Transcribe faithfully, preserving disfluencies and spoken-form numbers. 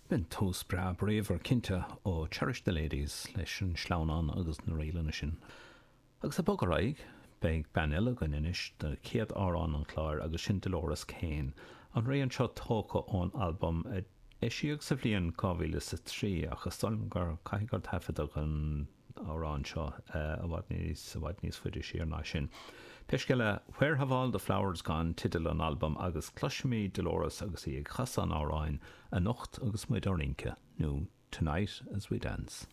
B'in tús breá bríomhar cinnte ó Cherish the Ladies leis an sleamhnán agus na ríleanna sin. Agus ag bogadh ar aghaidh, beidh bean eile againn anois do chéad amhrán an chláir agus sin Dolores Keane. An rian seo tógtha ón albam a eisíodh sa bhliain dhá mhíle is a trí ach is dóigh liom gur caithfidh gur taifeadadh an amhrán seo i bhfad níos i bhfad níos faide siar ná sin. Pé scéal é, Where Have All the Flowers Gone teideal an albaim agus cloisfimid Dolores agus í ag casadh an amhráin anocht agus muid á rince, nó Tonight as We Dance.